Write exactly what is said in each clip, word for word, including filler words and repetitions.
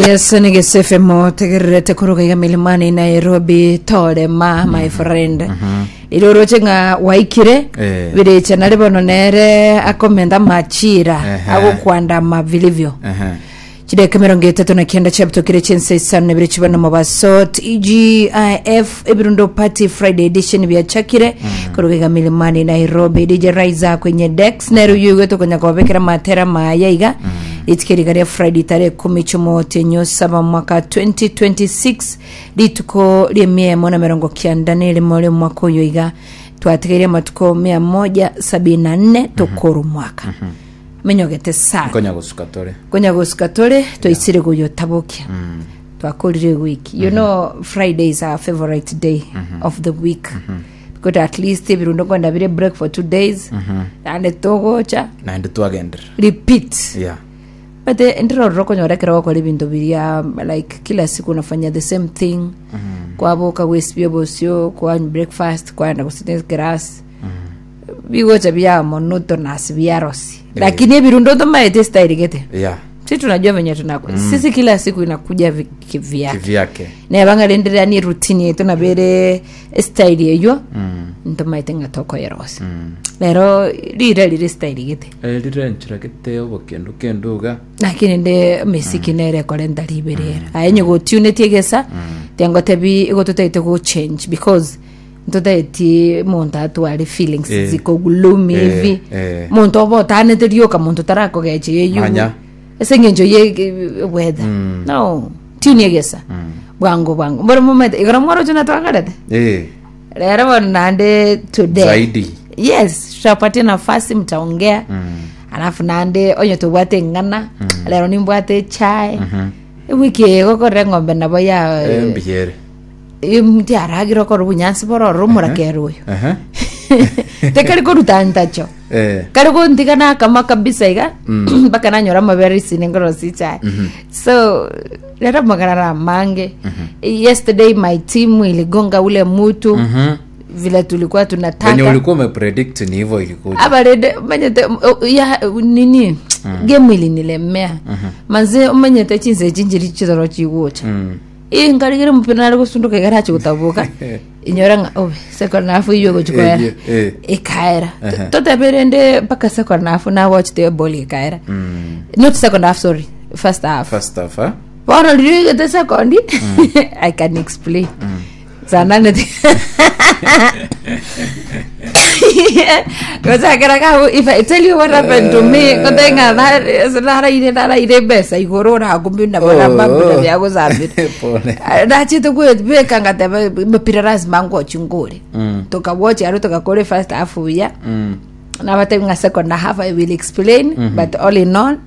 Yes, ni F M tegererete kuruga iga Milimani Nairobi torema, my friend, iroroche ng'a waikire. Eh. Birecha nari bono nere akomenda machira Ehe. agokwandama vilivyo. Ehe. Chideka mirongo etato na kenda chiabutokire chinsa isano na ibere chibana mobaso. T G I F Ebirundo Party Friday edition biachakire kuruga iga Milimani Nairobi. D J Raiza kwenye dex nero yugo tukonya kobekera matera maya iga itikeriga ria Friday tarehe kumi chumotenyo saba mwaka twenty twenty-six, rituko ria mia emo na mirongo kianda na erimo ria mwaka oyo iga twatigeire matuko mia moja sabini na nne tukuru mwaka menyogete sana. Nkonya gusuka tore. Konya gusuka tore twaisire guyotabukia twakorire wiki. You know, Friday is our favorite day of the week because at least ebirundo kwenda bire break for two days and togocha Naende twagenderera. Repeat. Yeah. But eh, ndirorora konyora ekero gokora ebinto biria like kila siku unafanya the same thing, kwaboka gwesibia bosio, kwanywa breakfast, kwaenda gusita class, bigocha bia monotonous biarosi, lakini ebirundo tomaete style gete. Yeah. Si tunajua venye tunako sisi kila siku inakuja vi- kivyake. Kivyake. Nebanga renderea ni routine yetu nabere style eyo ntomaete ng'a tokoyerosa lero rira rire style gete. Eh, rire nchira gete obokendu kenduga. Lakini nde mesiki nere korenta riberera aye nyogotunetie gesa tiangotebi igototaete go change because ntotaeti muntu atware feelings Eh. ziko gloomy Eh, hivi. eh. Muntu oba otanete rioka muntu tarakogeche yeyu Manya. ase eng'encho ye weather no tune egesa bwango bwango mboro momete igoro mworocho natwakarete. Eh. Rero bono nande today Zaidi. Yes, tutapatia nafasi mtaongea mm. Alafu nande onye tubwate ng'ana mm. Lero nimbwate chai mm -hmm. Wiki egokorera ng'ombe nabo ya Eh, mbiyere. Mtiaragire okora obunyansi bororo omorakera oyo. Ehe. Tekari koruta ntacho. Eh. Kari gontiga nakama kabisa iga mpaka nanyora amabere isine ngorosi chai. So lero magarara mange. Yesterday my team iligonga ule mutu Mhm. vile tulikuwa Venye tunataka. ulikuwa umepredict ni hivyo ilikuja. Abarede manyete ya nini game ilinilemea manze umanyete chinse chinjiri chizoro chigucha ingarigire mupira nari gusunduka igarachi gutabuka inyora nga obe second half iyo gochikoera. Eh, eh. Ikaera. Ehe. Toteberende mpaka second half na watch the ball ikaera, not second half, sorry, first half. First half, eh? Bono riri second I can explain sana gochakera kau. If I tell you what happened to me, kotenga naraire naraire mbeca iguru rakumbi na Oh. mabira bya gusambira. Pole. Ndachite gwibika ngateba mupira lazima ngochi ngure. Tukawochi aro tukakore first half ya Mm. na batenga second half I will explain, but all in all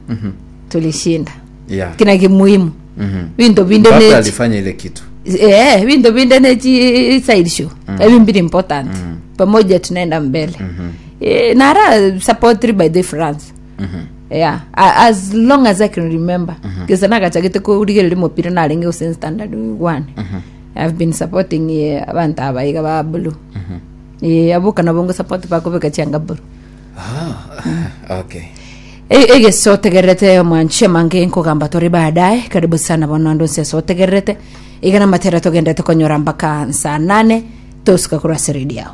tulishinda. Yeah. Kina kimuhimu Mhm. vinto vinde Mbappe ne alifanya ile kitu. Eh, vinto vinde nechi side show mm. Mbili important pamoja tunaenda mbele mm-hmm. Eh, nara support by the France Mhm. Yeah, a- as long as I can remember mm-hmm. Kisa nakachagete kurigereria mupira narenge gose standard one mm-hmm. I've been supporting eh, abantu abaiga ba blue mm-hmm. Eh, abuka nabo support bakubika chianga blue. Ah, okay. Egesotegerete mwanche mange nkugamba tori baadaye. Karibu sana bono andu nse sotegerete igana matera tugendete konyora mpaka saa nane tosuka kurwa ase radio.